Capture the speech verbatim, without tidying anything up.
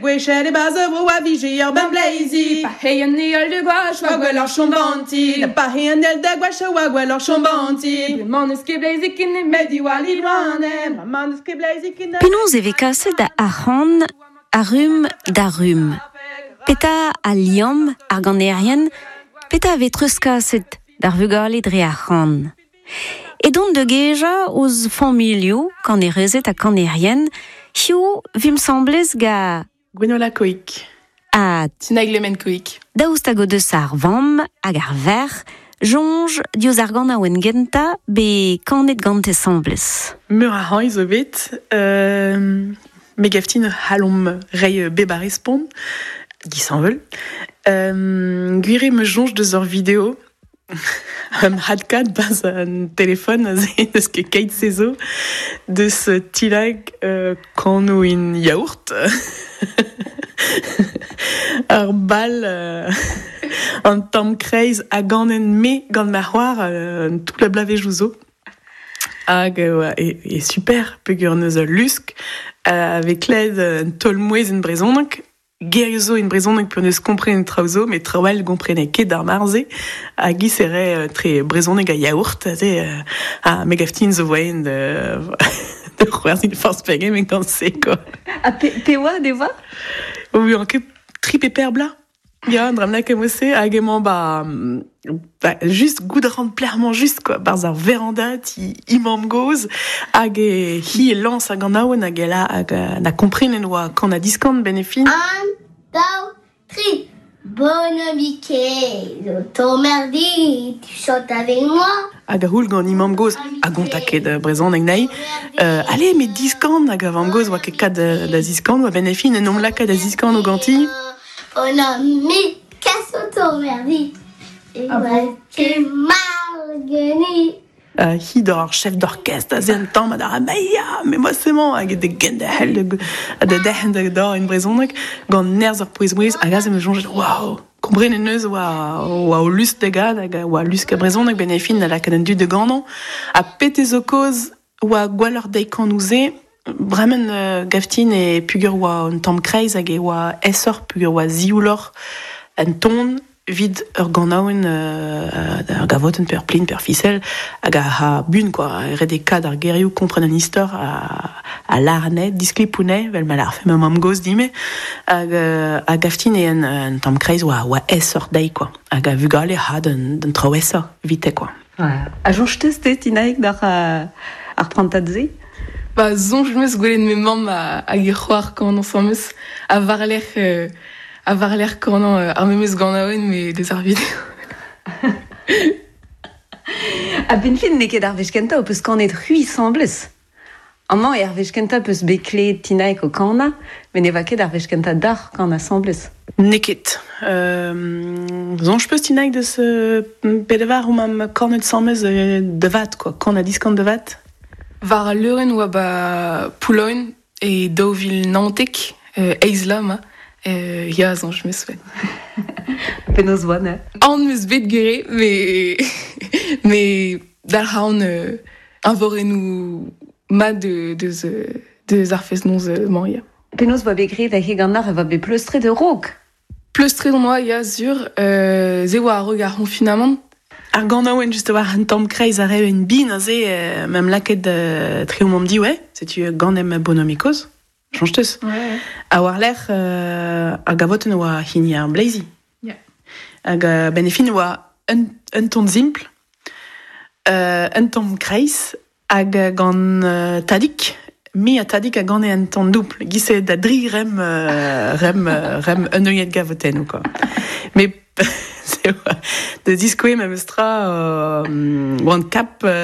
Gwechel e baz vro a vije ur ben bleizi. Pa hei an eol de gwach oa gwell ur chombanti. La pa hei an el da gwach oa gwell ur chombanti. Bremañ eus ket bleizi ken met diwall i loane. Bremañ eus ket bleizi ken Penaos e vez kaset ar c'han a rumm da rumm. Petra a liamm ar ganerien, petra a vez treuzkaset d'ar vugale dre ar c'han. Edon da gejañ ouzh familhoù kanerezed ha kanerien, hiziv 'vimp 'sambles ga Gwenola Coic. Ha Tinaig Le Men Coic. Daoust hag o deus ar vamm hag ar verc'h, soñj diouzh ar ganaouenn gentañ bet kanet gante 'sambles. Meur a hañv zo bet, euh, me gav din c'hallomp reiñ bep a respont, disheñvel. Euh, gwir eo 'm eus soñj deus ur video Am hadkat bas an telefon aze deus ket keit se zo deus Tilag euh, kanoù in yaourt. Ar bal euh, an tamm kreiz a ganen me gant ma c'hoar euh, tout la blavezhioù zo. Hag euh, e, e super peogwir neus ul lusk euh, avec klevet un taol-mouezh en brezhoneg gerioù zo en brezhoneg p'on eus komprenet traoù zo, met traoù all gomprene ket d'ar mare-se hag i sere euh, tre brezhoneg a yaourt aze euh, ha me gav din zo voaien de de c'hoarzhin forzh pegement gant se quoi. Ha pe, pe oa devoa? Oui, an ket tri pe per bla. Ya, dra mlak em eus hag emañ ba, ba just goût a ran plermañ just quoi, barzh ar veranda ti imam goz hag e hi e lañs hag an awen hag ela hag na komprenen oa kan a diskan ben e fin. Un, daou, tri. Bonhomme t'emmerdi, tu chantes avec moi. Hag a houl gant imam goz a gonta ket brezhoneg na'i. Euh, allez, met diskan hag a vamm goz oa ket kat da, da ziskan oa ben e fin en om lakaat da ziskan o ganti. Bonhomme casse t'emmerdi. Et Ah bon tu margueni. Euh, hi d'ar chef d'orchestre a ze an tamm ha d'ar ya, mais moi c'est man hag de genderc'hel de da derc'hen da da en brezhoneg gant nerzh ar pouez-mouezh hag aze me soñjet waouh komprenet neus oa oa o lust da gad hag oa lusk a brezhoneg ben e fin da lakaat an dud da ganañ ha pete zo kaoz oa gwelloc'h deiz kanoù se bremen euh, gav din e peogwir oa un tamm kreiz hag e oa aesoc'h peogwir oa siouloc'h an ton vid ur ganaouenn euh, ur gavotenn pe ur plin pe ur fisel hag a ha bun quoi ret eo kad ar gerioù kompren an istor a, a lâr anezhe disklipoù anezhe vel ma lârfe ma mamm-gozh din-me hag euh, a gav din eo un, un tamm kreiz oa oa aesoc'h dezhi quoi hag a vugale ha d'un d'un traoù aesoc'h evite quoi. Ouais. Ha soñj 'teus te Tinaig d'ar euh, ar prantad-se? Ba soñj 'm eus gwelet me mamm ha hag he c'hoar kanañ ensemble ha war-lerc'h euh, ha war-lerc'h kanañ euh, ar memes ganaouenn met deus ar video. Ha ben fin n'eo ket ar wech kentañ ho peus kanet c'hwi 'sambles. Amañ eo ar wech kentañ peus bet klevet Tinaig o kanañ, met ne oa ket ar wech kentañ deoc'h kanañ 'sambles. N'eo ket. Euh, soñj 'peus Tinaig deus euh, pedevar omp am kanet 'sambles euh, da vat quoi, kan ha diskan da vat. War al leurenn oa ba Poulogne e daou vil naontek, euh, eizh vloaz 'ma, euh, ya soñj 'm eus ouais. Penaos oa neuze? Aon 'm eus bet gwir met met dalc'h a ran euh, eñvorennoù mat de, deus, deus ar fest-noz euh, mañ ya. Penaos oa bet graet hag ganeoc'h e oa bet pleustret a-raok? Pleustret on oa ya sur, euh, se oa a-raok ar c'honfinamant. Ar ganaouenn just war un tamm kreiz a re un bin aze euh, ma'm lakaet euh, tre omp diwe, setu ganem bonhomikoz, soñj 'teus. Ouais. Ha war-lerc'h euh, ar gavotenn oa hini ar bleizi. Ya. Hag euh, ben e fin oa un, un ton simpl, euh, un tamm kreiz, hag gant euh, Tadig, me ha Tadig a gane un ton doubl, giz-se da dri rem, euh, rem, euh, rem un neuiad gavotenn ou quoi. Mais c'est oa de diskoe memes tra euh, oan kap euh,